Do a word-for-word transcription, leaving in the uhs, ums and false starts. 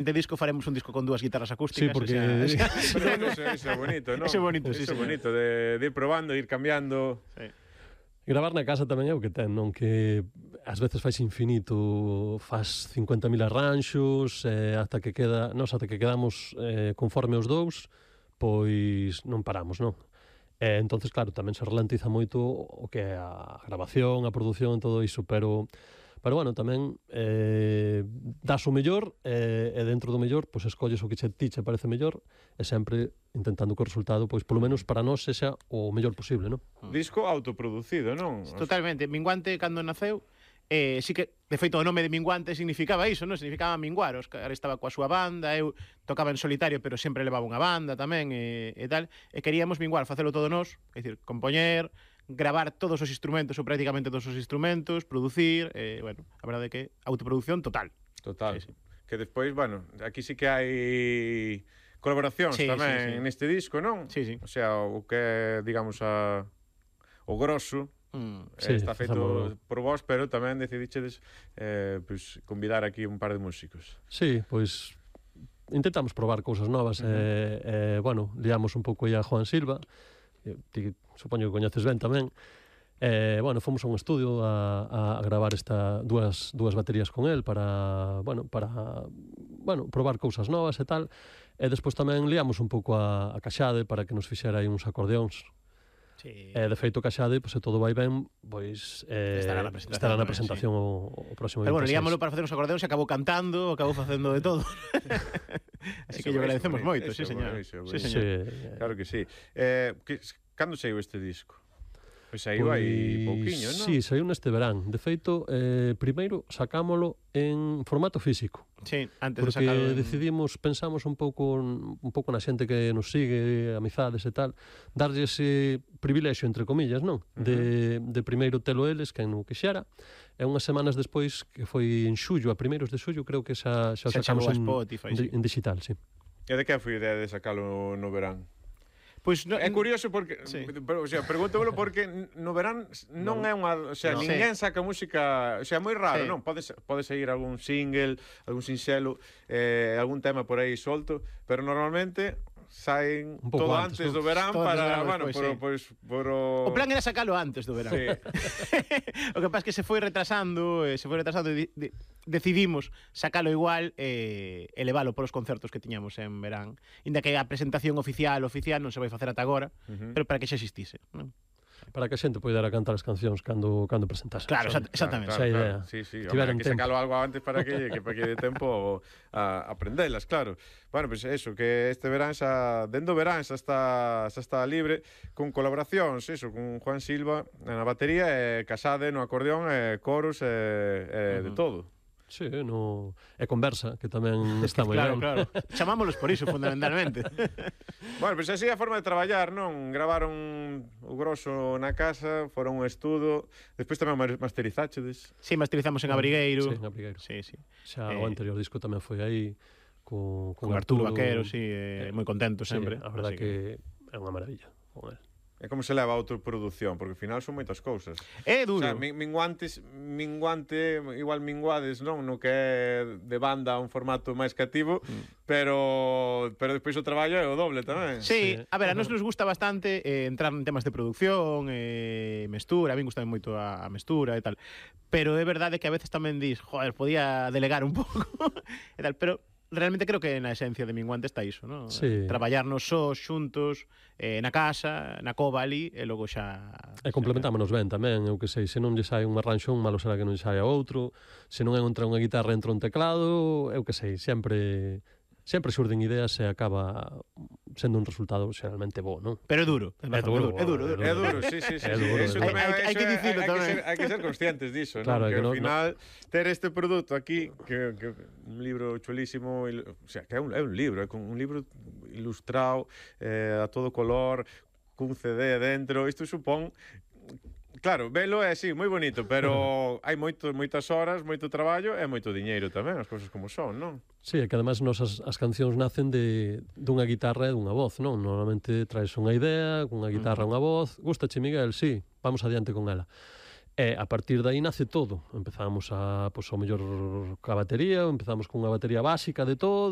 De disco faremos un disco con dúas guitarras acústicas. Sí, porque... O sea, o sea, Pero eso, eso é bonito, non? Eso é bonito, sí, Eso é señor. bonito, de, de ir probando, ir cambiando. sí. Gravar na casa tamén é o que ten, non? Que ás veces faz infinito, faz cincuenta mil arranxos, eh, ata que queda, nos ata que quedamos eh, conforme os dous, pois non paramos, non? E entonces, claro, tamén se ralentiza moito o que é a grabación, a produción, todo iso, pero pero bueno, tamén eh, das o mellor eh, e dentro do mellor, pois escolles o que che ti che parece mellor e sempre intentando que o resultado, pois polo menos para nós sexa o mellor posible, non? Disco autoproducido, non? Totalmente. Minguante, cando naceu, eh, sí que, de feito, o nome de Minguante significaba iso, non? Significaba minguar. Óscar estaba coa súa banda, eu tocaba en solitario, pero sempre levaba unha banda tamén, e, e tal, e queríamos minguar, facelo todo nós, é dicir, compoñer, gravar todos os instrumentos, ou prácticamente todos os instrumentos, producir, eh, bueno, a verdade é que autoproducción total. Total. Sí, sí. Que despois, bueno, aquí sí que hai colaboracións Sí, tamén sí, sí. neste disco, non? Sí, sí. O sea, o que é, digamos, a, o grosso Mm. Sí, eh, está feito facemos- por vos, pero tamén decidichedes eh, pues, convidar aquí un par de músicos. Sí, pois intentamos probar cousas novas e, uh -huh. eh, bueno, liamos un pouco aí a Juan Silva, eh, ti supoño que coñeces ben tamén. Eh, bueno, fomos a un estudio a, a gravar esta dúas dúas baterías con el para, bueno, para bueno, probar cousas novas e tal. E despois tamén liamos un pouco a, a Caxade para que nos fixera aí uns acordeóns. Sí. E de feito Caxade, pois se todo vai ben, pois eh, Estará na presentación estará na tamén, presentación o, o próximo Pero bueno, veintiséis. liámoslo para facer uns acordeóns e acabou cantando, acabou facendo de todo. Así Eso, que yo eso, agradecemos eso, moito, eso, sí, señor. eso, Sí, eso. señor. Sí, Claro que sí. Eh, que, cando saiu este disco? Pois saiu aí pouquiño, non? Sí, saiu neste verán. De feito, eh, primeiro sacámolo en formato físico. Sí, antes Porque de sacarlo en... decidimos, pensamos un pouco un pouco na xente que nos sigue, amizades e tal, darlle ese privilexio, entre comillas, non? De, de primeiro telo eles, que non quixera, e unhas semanas despois, que foi en xullo, a primeiros de xullo, creo que xa, xa, Xa sacamos chegou a en, Spotify, en, sí. en digital, sí. E de que foi a idea de sacalo no verán? Pois no, É curioso porque, Sí. pero, o sea, pregúntamelo porque no verán non é unha, o sea, No. ninguén saca música, o sea, moi raro, Sí. non? Pode pode seguir algún single, algún sinxelo, eh, algún tema por aí solto, pero normalmente saen Un pouco todo antes, antes non? do verán Todo antes do para, verán, bueno, despois, por, sí. pois, por o... O plan era sacalo antes do verán. Sí. O que pasa é que se foi retrasando, eh, se foi retrasando e di, di, decidimos sacalo igual e eh, elevalo polos concertos que tiñamos en verán. Inda que a presentación oficial oficial non se vai facer ata agora, uh -huh. pero para que xa existise, non? Para que a xente poidera cantar as cancións cando cando presentase. Claro, Son- exact- exactamente. Esa é a idea. Sí, sí, Tiveron hombre, hai que tempo. sacalo algo antes para que, que para que dé tempo a aprendelas, claro. Bueno, pois pues eso, que este verán xa, dendo verán xa está, xa está libre, con colaboracións, eso, con Juan Silva na batería, e Casade no acordeón, e coros, e, e uh -huh. de todo. Sí, no... e conversa, que tamén está moi Claro, ben. claro. Chamámolos por iso, fundamentalmente. Bueno, pois pues así é a forma de traballar, non? Gravaron o grosso na casa, foron un estudo, despois tamén masterizáchedes. Sí, masterizamos en Abrigueiro. Sí, en Abrigueiro. Sí, sí. Xa Eh, o anterior disco tamén foi aí con, Con Arturo Vaquero, sí, eh, moi contento sempre. Sí, a verdad Así que... que é unha maravilla con el. É como se leva a autoproducción, porque ao final son moitas cousas. É O duro. sea, min- minguantes, minguante, igual minguades, non? No que é de banda un formato máis cativo, mm. pero pero despois o traballo é o doble tamén. Sí, Sí. a ver, a nos nos gusta bastante eh, entrar en temas de producción, eh, mestura, a mí gusta moito a, a mestura e tal. Pero é verdade que a veces tamén dis, joder, podía delegar un pouco e tal, pero realmente creo que na esencia de Minguante está iso, ¿no? Sí. Traballarnos sós, xuntos, eh, na casa, na cova ali, e logo xa... E complementámonos ben tamén, eu que sei, se non lle sai un arranxón, malo será que non lle saia outro, se non entra unha guitarra, entra un teclado, eu que sei, sempre sempre xurden ideas e acaba sendo un resultado xeralmente bo, non? Pero é duro. É duro, é duro, é duro. É duro, sí, sí, sí. É sí. duro, Eso é duro. tamén, Hai- hai eso que é- dicilo hai que tamén. ser- Hai que ser conscientes diso, Claro, non? é Que que ao non- final ter este produto aquí, que, que un libro chulísimo, il- o sea, que é un, é un libro, é con un libro ilustrado, eh, a todo color, cun C D dentro, isto supón... Claro, velo é así, moi bonito, pero hai moito, moitas horas, moito traballo e moito diñeiro tamén, as cousas como son, non? Sí, é que además nos as, as cancións nacen de dunha guitarra e dunha voz, non? Normalmente traes unha idea, cunha guitarra e unha voz, gustache Miguel, sí, vamos adiante con ela. E a partir de aí nace todo. Empezamos a, pois, ao mellor ca batería, empezamos cunha batería básica de todo,